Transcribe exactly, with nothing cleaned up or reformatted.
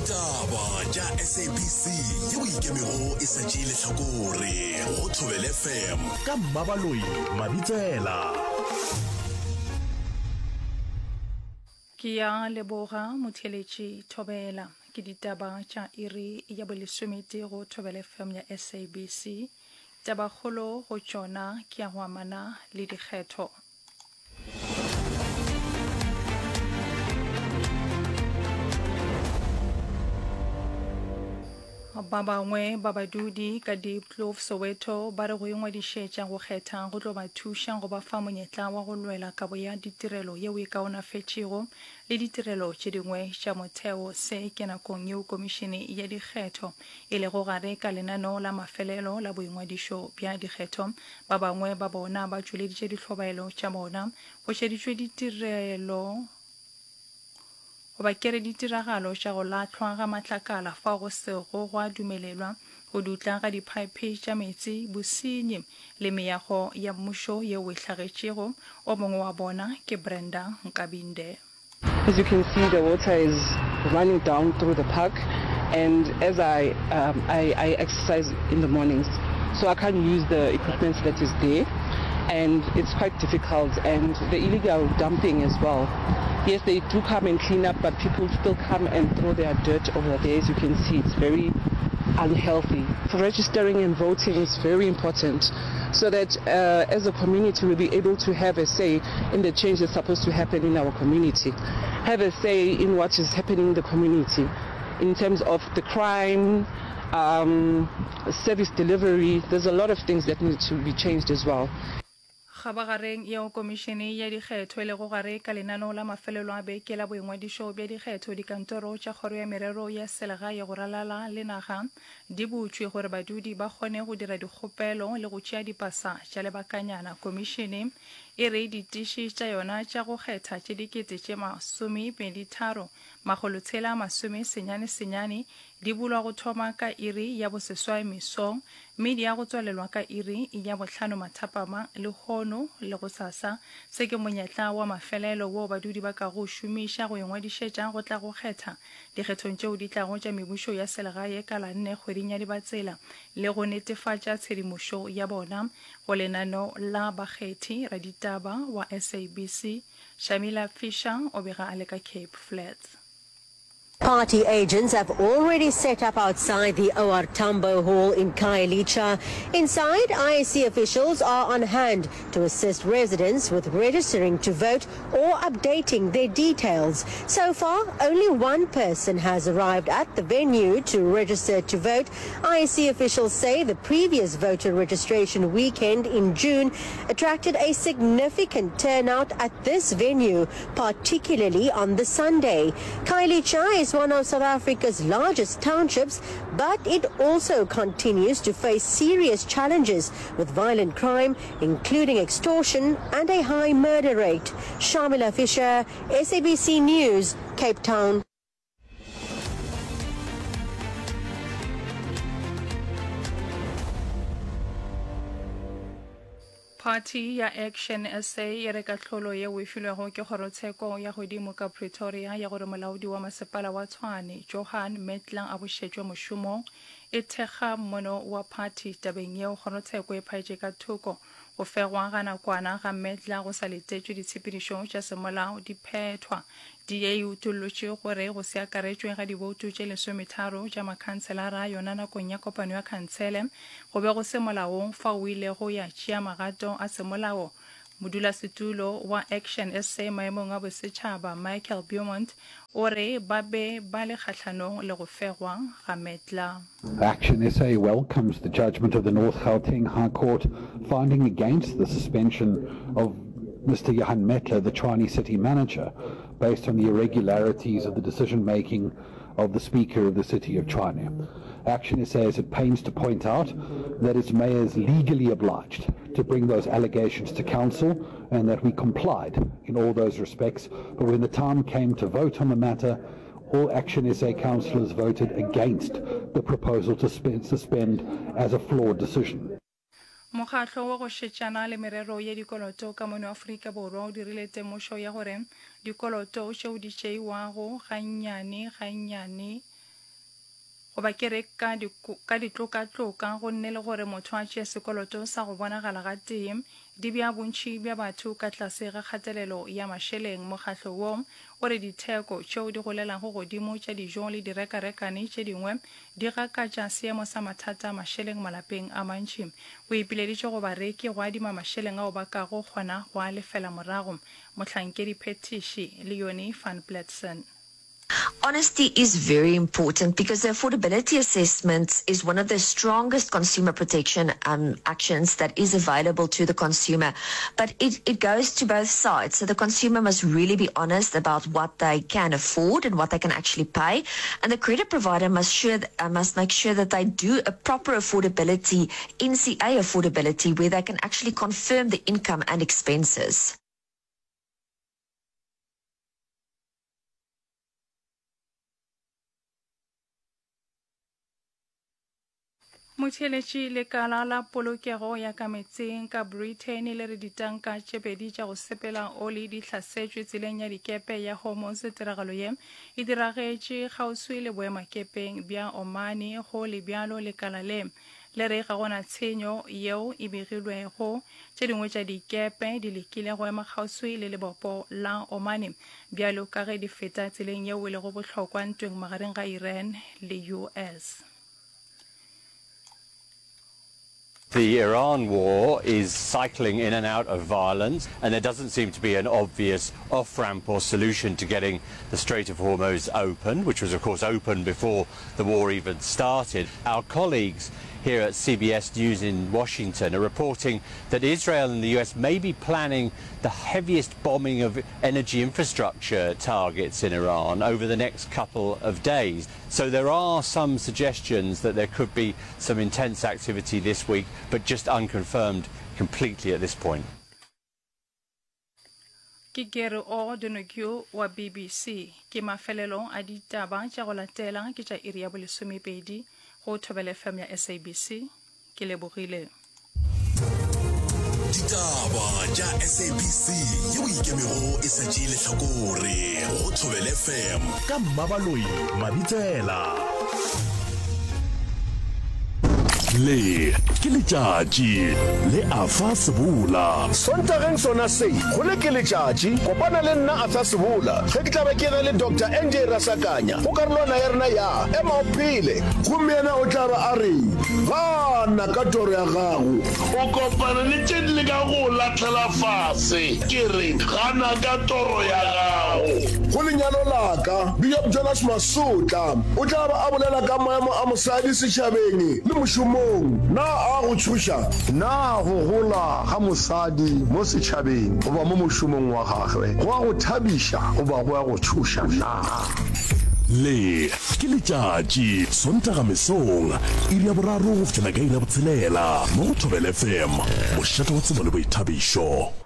Ditaba tša S A B C yeo e ikemego e sa tšee lehlakore go Thobela F M ka Mmabaloi Mabitsela. Ke ya leboga motheeletši Thobela. Ke ditaba tša iri ya bolesometee go Thobela F M ya S A B C. Tabakgolo go tšona ke ya go amana le dikgetho. Ba bangwe ba badudi ka Diepkloof, Soweto ba re go ingwadišetša go kgetha go tlo ba thuša go ba fa monyetla wa go lwela kabo ya ditirelo yeo e kaonafetšego le ditirelo tše dingwe tša motheo. Se ke nakong yeo Komišene ya Dikgetho e lego gare ka lenaneo la mafelelo la boingwadišo bja dikgetho. Ba bangwe ba bona ba tšweleditše dihlobaelo tša bona go šeditšwe ditirelo goba ke re ditiragalo tša go lahlwa ga matlakala fao go sego gwa dumelelwa, go dutla ga diphaephe tša meetse, bosenyi le meago ya mmušo yeo e hlagetšego. O mongwe wa bona ke Brenda Nkabinde. As you can see, the water is running down through the park, and as I, um, I, I exercise in the mornings, so I can't use the equipment that is there, and it's quite difficult, and the illegal dumping as well. Yes, they do come and clean up, but people still come and throw their dirt over there. As you can see, it's very unhealthy. Registering and voting is very important so that uh, as a community we'll be able to have a say in the change that's supposed to happen in our community, have a say in what is happening in the community in terms of the crime, um, service delivery. There's a lot of things that need to be changed as well. Kgabagareng yeo Komišene ya Dikgetho e lego gare ka lenaneo la mafelelo a beke la boingwadišo bja dikgetho, dikantoro tša Kgoro ya Merero ya Selegae go ralala le naga di butšwe gore badudi ba kgone go dira dikgopelo le go tšea dipasa tša lebakanyana. Komišene e re ditiši tša yona tša go kgetha tše dikete tše masomepedi tharo makgolo tshela masome senyane senyane di bulwa go thoma ka iri ya boseswai mesong mme di ya go tswalelwa ka iri ya bohlano mathapama lehono le gosasa. Se ke monyetla wa mafelelo woo badudi ba kago o šomiša go ingwadišetša go tla go kgetha dikgethong tšeo di tlago tša mebušo ya selegae ka la nne kgweding ya Dibatsela le go netefatša tshedimošo ya bona go lenaneo la bakgethi. Raditaba wa S A B C Shamila Fisher o bega a le ka Cape Flats. Party agents have already set up outside the O R Tambo Hall in Khayelitsha. Inside, I E C officials are on hand to assist residents with registering to vote or updating their details. So far, only one person has arrived at the venue to register to vote. I E C officials say the previous voter registration weekend in June attracted a significant turnout at this venue, particularly on the Sunday. Khayelitsha is one of South Africa's largest townships, but it also continues to face serious challenges with violent crime, including extortion and a high murder rate. Shamila Fisher, S A B C News, Cape Town. Phathi ya Action S A e re kahlolo yeo e filwego ke kgorotsheko ya godimo ka Pretoria ya gore molaodi wa masepala wa Tshwane, Johan Mettler a bušetšwe mošomong, e thekga mmono wa phathi tabeng yeo. Kgorotsheko e phaetše ka thoko go fegwa ga nakwana ga Mettler go sa letetšwe ditshepedišo tša semolao di phethwa. D A e utollotše gore go se akaretšwe ga diboutu tše lesometharo tša makhanselara a yona nakong ya kopano ya khansele go be go se molaong fao o ilego ya tšea magato a semolao. Modulasetulo wa Action S A maemong a bosetšhaba Michael Beaumont o re ba be ba le kgahlanong le go fegwa ga Mettler. Action S A welcomes the judgment of the North Gauteng High Court finding against the suspension of Mister Johan Mettler, the Tshwane city manager, based on the irregularities of the decision-making of the Speaker of the City of Tshwane. Action S A is at pains to point out that its mayor is legally obliged to bring those allegations to council and that we complied in all those respects. But when the time came to vote on the matter, all Action S A councillors voted against the proposal to spend, suspend as a flawed decision. Mokgatlo wa go šetšana le merero ya dikoloto ka mono Afrika Borwa o dirile temošo ya gore dikoloto tšeo di tšeiwago gannyane gannyane goba ke re ka ka ditlokatloka gonne le gore motho a tšee sekoloto sa go bonagala gatee di bea bontši bja batho ka tlase ga kgatelelo ya mašeleng. Mokgatlo wo o re ditheko tšeo di golelago godimo tša dijo le direkarekane tše dingwe di gakatša seemo sa mathata a mašeleng malapeng a mantši. O ipileditše go bareki go adima mašeleng ao ba kago kgona go a lefela morago. Mohlankedi phethiši Leonie van Pletzen. Honesty is very important because the affordability assessment is one of the strongest consumer protection um, actions that is available to the consumer. But it, it goes to both sides. So the consumer must really be honest about what they can afford and what they can actually pay. And the credit provider must, sure, uh, must make sure that they do a proper affordability, N C A affordability, where they can actually confirm the income and expenses. Motheeletši lekala la polokego ya ka metseng ka Britain le re ditanka tše pedi tša go sepela oli di hlasetšwe tseleng ya dikepe ya Hormuz. Tiragalo ye e diragetše kgauswi le boemakepeng bja Omani. Go le bjalo lekala le le re ga gona tshenyo yeo e begilwego. Tše dingwe tša dikepe di lekile go ema kgauswi le lebopo la Omani bjalo ka ge di feta tseleng yeo e lego bohlokwa ntweng magareng ga Iran le U S. The Iran war is cycling in and out of violence, and there doesn't seem to be an obvious off-ramp or solution to getting the Strait of Hormuz open, which was of course open before the war even started. Our colleagues here at C B S News in Washington are reporting that Israel and the U S may be planning the heaviest bombing of energy infrastructure targets in Iran over the next couple of days. So there are some suggestions that there could be some intense activity this week, but just unconfirmed completely at this point. Ke Gary O'Donoghue wa B B C. Ke mafelelo a ditaba tša go latela ke tša iri ya bolesomepedi go Thobela F M ya S A B C. Ke lebogile. Ditaba tša S A B C yeo e ikemego e sa tšee lehlakore go Thobela F M ka Mmabaloi Mabitsela. Le ke letšatši le Arthur Sebola. Sontageng sona se, go le ke letšatši, kopana le nna Arthur Sebola ge ke tla be ke na le Doctor N J Rasakanya go karolwana ya rena ya Ema o Phele. Gomme yena o tla ba a re, Gana ka toro ya gago. O kopana le tše di lekago go lahlela fase. Ke re, gana ka toro ya gago. Go lenyalo la ka, Bishop Jonas Masotla o tla ba a bolela ka maemo a mosadi setšhabeng le mošomong. Na a go tšhoša? Na go gola ga mosadi mo setšhabeng goba mo mošomong wa gagwe go a go thabiša goba go a go tšhoša na? Le ke letšatši Sontaga mesong iri ya boraro go fihlela ka iri ya botshelela mo go Thobela F M, mošate wa tsebo le boithabišo.